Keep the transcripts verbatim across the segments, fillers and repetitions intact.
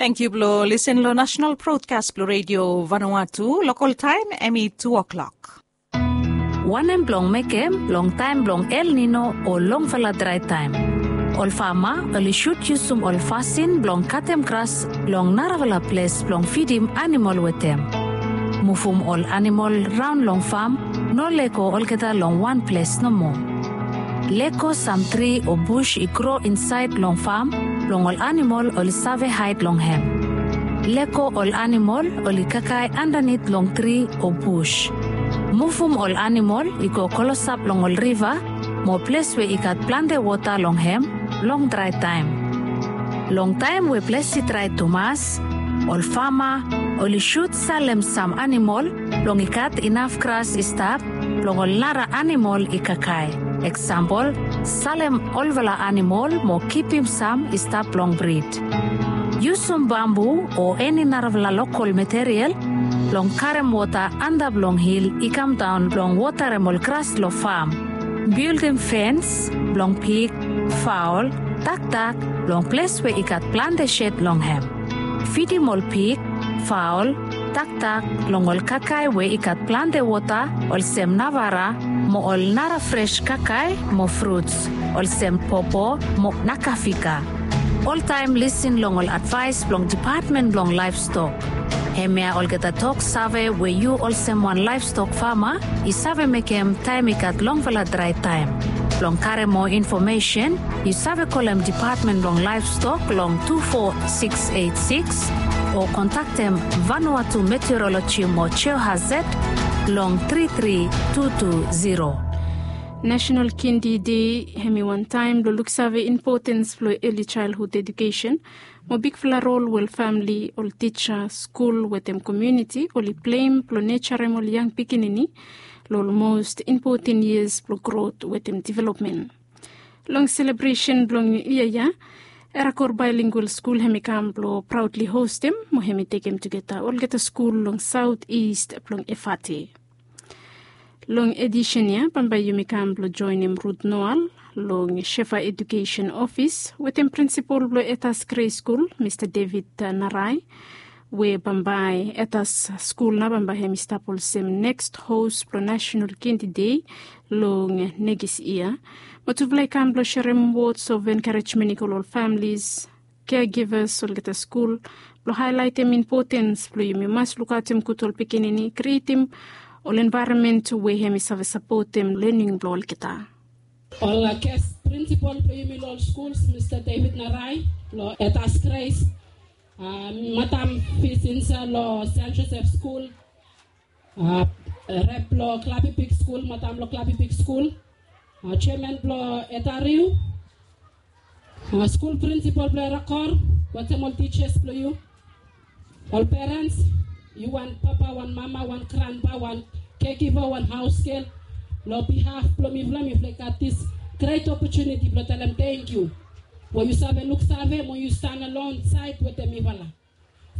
Tangkiu blong lisin long nasional brodkas blong redio Vanuatu. Lokal taem hemi tu o'klok. Wanem blong mekem long taem blong El Nino o longfala drae taem? Ol fama oli sud yusum ol fasin blong katem gras long narafala ples blong fidim animol wetem. Muvum ol animol raon long fam, no lego olgeta long wan ples nomo. Lego sam tri o bus i gro insaed long fam blong ol animol oli save haed long hem. Lego ol animol oli kakae andanit long tri o bus. Muvum ol animol i go klosap long ol riva mo ples we i gat plante wota long hem long drae taem. Long taem we ples i drae tumas, ol fama oli sud salem sam animol blong i gat inaf gras i stap blong ol nara animol i kakae. Eksampol, salem olfala animol mo kipim sam i stap long brid. Yusum bambu o eni narafala lokal material blong karem wota antap long hil i kamdaon blong wotarem ol gras long fam. Bildim fens blong pig, faol, taktak long ples we i gat plante shed long hem. Fidim ol pig, faol, taktak long ol kakae we i gat plante wota olsem navara mo ol nara fres kakae mo fruts olsem popo mo nakafika. Oltaem lisin long ol advaes blong Dipatmen blong Laevstok. Hemia olgeta tok save we yu olsem wan laevstok fama i save mekem taem i gat longfala drae taem. Blong karem moa infomesen, yu save kolem Dipatmen blong Laevstok long tu fo siks eit siks o kontaktem Vanuatu Meteoroloji mo Geohazard long tri tri tu tu ziro. Nasional Kindi Dei hemi wan taem blong luksave impotens blong eli jaelhud ejukesen mo bigfala rol we ol famle, ol tija, skul wetem komuniti oli pleim blong nejarem ol yang pikinini long ol mos impoten yias blong grot wetem developmen. Long selebresen blong yia ya, Erakor Baelingual Skul hemi kam blong praodli hostem mo hemi tekem tugeta olgeta skul long saot ist blong Efate. Long edisen ya bambae yumi kam blong joenem Rut Noal long Shefa Ejukesen Ofis wetem prinsipol blong Etas Grei Skul, Mista David Narai, we bambae Etas skul nao bambae hemi stap olsem neks hos blong Nasional Kindi Dei long nekis yia. Mo tufala i kam blong serem wods of enkarejmen i go long ol famles, kegivas, olgeta skul blong haelaetem impotens blong yumi mas lukaotem gud ol pikinini, krietem ol envaeronmen we hemi save sapotem lening blong olgeta. Ol ges prinsipol blong yumi long ol skuls, Mista David Narai long Etas Grei, Madam Fisinsa long San Josef Skul, rep blong Klabibik Skul, madam blong Klabibik Skul, jeaman blong Etariu, skul prinsipol blong Erakor, wetem ol tijas blong yu, ol perens, yu wan papa, wan mama, wan granpa, wan kegiva, wan haosgel. Long bihaf blong mifala, mifala i gat dis gret opotuniti blong talem tangkiu we yu save luksave mo yu stan alongsaed wetem mifala.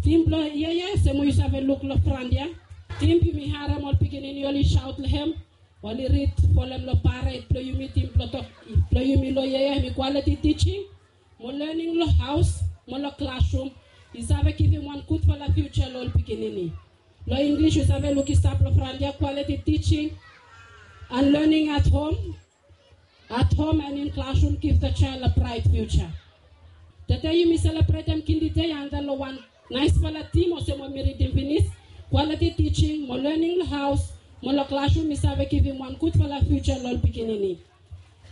Tim blong yia ya olsem we yu save luk long fran ya. Tim yumi harem ol pikinini oli saot long hem, oli rid folem long pared blong yumi, tim blong tok blong yumi long yia ya hemi kwaliti tijing mo lening long haos mo long klasrum i save givim wan gudfala fiuja long ol pikinini. Long Inglis yu save luk i stap long fran ya, kwaliti tijing and lening at hom. At hom and in klasrum giv the jael a braet fiuja. Tede yumi selebretem Kindi Dei antap long wan naesfala tim olsem we mi ridim finis, kwaliti tijing mo lening long haos mo long klasrum i save givim wan gudfala fiuja long ol pikinini.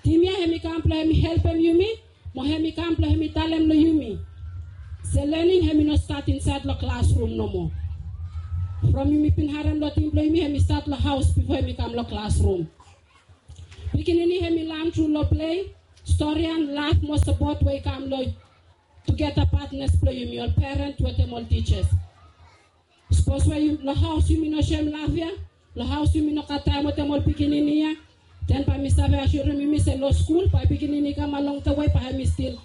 Tim ya hemi kam blong hemi helpem yumi mo hemi kam blong hemi talem long yumi se lening hemi no stat insaed long klasrum nomo. From yumi bin harem long tim blong yumi hemi stat long haos bifo hemi kam long klasrum. Pikinini hemi lan tru long plei, storian, laf mo sapot we i kam long tugeta patnas blong yumi ol peren wetem ol tijas. Sapos we long haos yumi no soem laf ya, long haos yumi no gat taem wetem ol pikinini ya, den bae mi save asirem yumi se long skul bae pikinini i kam along the wei bae hemi stil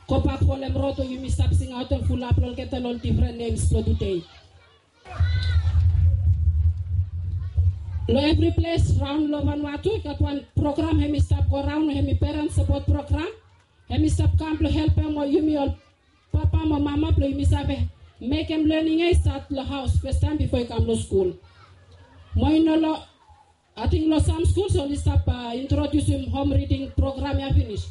gobak folem rod we yumi stap singaotem fulap long olgeta long ol difren nems blong tudei. Long evri ples raon long Vanuatu i gat wan program hemi stap go raon, hemi peren sapot program. Hemi stap kam blong helpem ol yumi ol papa mo mama blong yumi save mekem lening ya i stat long haos fastaem bifo i kam long skul. Mo i no long Ating long sam skuls oli stap introdiusim hom riding program ya finis.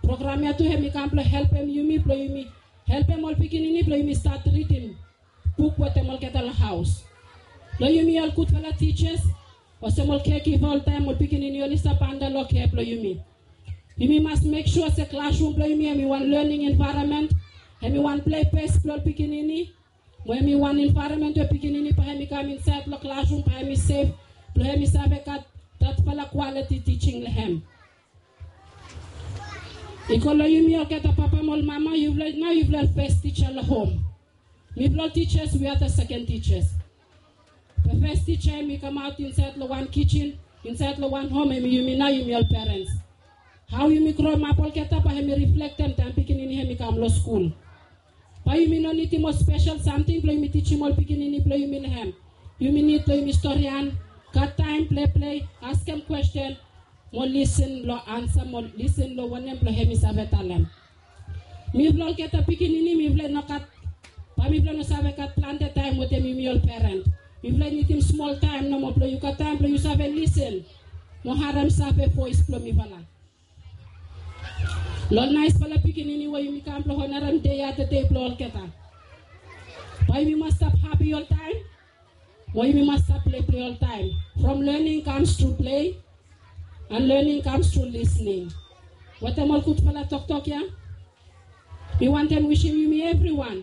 Program ya tu hem i kam blong helpem yumi blong yumi helpem ol pikinini blong yumi stat ridim buk wetem olgeta long haos. Long yumi ol gudfala tijas, olsem ol kekipa oltaem ol pikinini oli stap anda long kea blong yumi. Yumi mas mek sua se klasrum blong yumi hem i wan lening envaeronmen, hem i wan plei ples blong ol pikinini, mo hem i wan envaeronmen we pikinini bae hem i kam insaed long klasrum bae hem i sef blong hem i save gat datfala kwaliti tijing long hem. I go long yumi olgeta papa mo ol mama, yufala nao yufala ol fes tija long hom. Mifala ol tijas we are the second tijas. The fes tija hem i kamaot insaed long wan kijin, insaed long wan hom hem i yumi nao yumi ol perens. Hao yumi gromap olgeta bae hem i riflektem taem pikinini hem i kam long skul. Bae yumi no nidim ol spesel samting blong yumi tijim ol pikinini blong yumi long hem. Yumi nid blong yumi storian, gat taem pleplei, askem kwesten, mo lisin long ansa mo lisin long wanem blong hem i save talem. Mifala olgeta pikinini mifala i no gat, bae mifala i no save gat plante taem wetem yumi ol peren. Mifala i nidim smol taem nomo blong yu gat taem blong yu save lisin mo harem save voes blong mifala. Long ol naesfala pikinini we yumi kam blong onarem dei ya, the dei blong olgeta. Bae yumi mas stap hapi oltaem, mo yumi mas stap pleiplei oltaem. From learning comes through play and learning comes through listening. Wetem ol gudfala toktok ya, mi wantem wisim yumi evriwan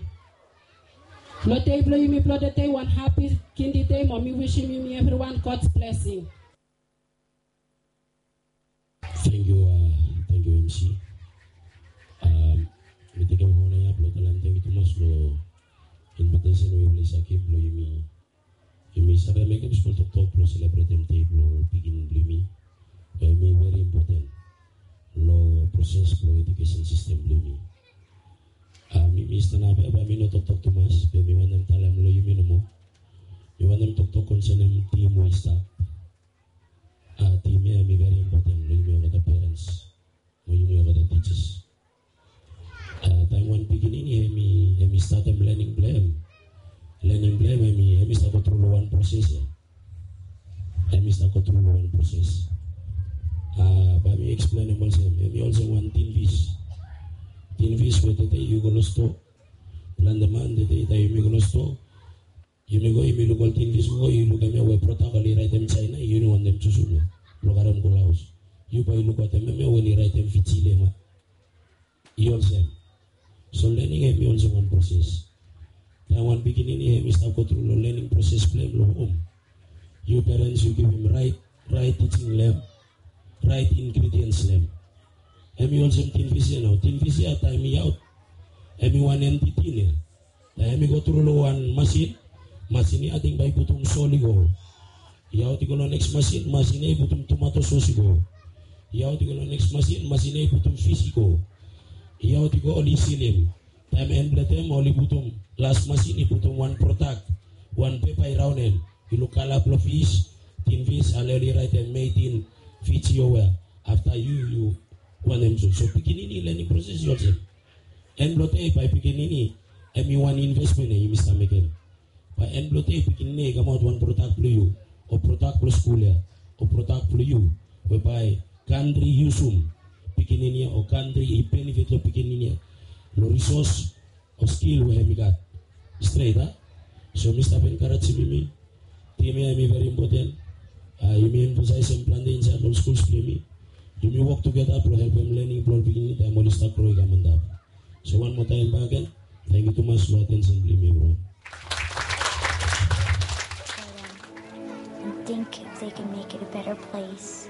long dei blong yumi blong the dei wan hapi Kindi Dei, mo mi wisim yumi evriwan God's blessing. Tangkiu, a, tangkiu M C. A, mi tekem ona ya blong talem tangkiu tumas long invitesen we yufala i save givim blong yumi, yumi save mekem smol toktok blong selebretem dei blong pikinini blong yumi. Hemi veri impoten long proses blong ejukesen sistem blong yumi. A, mi, mi stanap ya, bae mi no toktok tumas, be mi wantem talem long yumi nomo. Mi wantem toktok konsenem tim we i stap. A, tim ya hemi veri impoten long yumi olgeta perens mo yumi olgeta tijas. A, taem wan pikinini hemi, hemi statem lening blong hem, lening blong hem hemi, hemi stap go tru long wan proses ya. Hemi stap go tru long wan proses. A, bae mi eksplenem olsem, hemi olsem wan tin fis. Tin fis we tede yu go long stoa. Plante man tede taem yumi go long stoa, yumi go, yumi luk ol tin fis, go, yu lukim ya we prodak oli raetem Jaena, yu no wantem jusum ya blong karem go long haos. Yu bae yu luk wetem hem ya we oli raetem Fiji Lema. I olsem. So lening hemi olsem wan proses. Taem wan pikinini hemi stap go tru long lening proses blong hem long hom, yu perens yu givim raet, raet tijing long hem, raet ingrediens long hem. Hemi olsem tin fis ya nao. Tin fis ya taem i aot, hemi wan emti tin ya. Taem hemi go tru long wan masin, masin ya ating bae i putum sol i go. I aot i go long neks masin, masin ya i putum tomato sos i go. I aot i go long neks masin, masin ya i putum fis i go. I aot i go oli silim. Taem en blong taem oli putum las masin i putum wan prodak, wan pepa i raon hem. I luk kala blong fis, tin fis, ale oli raetem made in Fiji o wea. Afta yu, yu wantem so. So pikinini lening proses i olsem. En blong dei bae pikinini hemi wan invesmen ya yumi stap mekem. Bae en blong dei pikinini ya i kamaot wan prodak blong yu, o prodak blong skul ya, o prodak blong yu, we bae kantri i yusum pikinini ya, o kantri i benefit long pikinini ya, long risos o skil we hemi gat. Stret, a? So mi stap enkarejim yumi. Tim ya hemi veri impoten. A, yumi emfasaesem plante insaed long skuls blong yumi. Yumi wok tugeta blong helpem lening blong ol pikinini taem oli stap gro i kam antap. So wan moa taem bakegen, tangkiu tumas long atensen blong yumi evriwan. And think if they can make it a better place.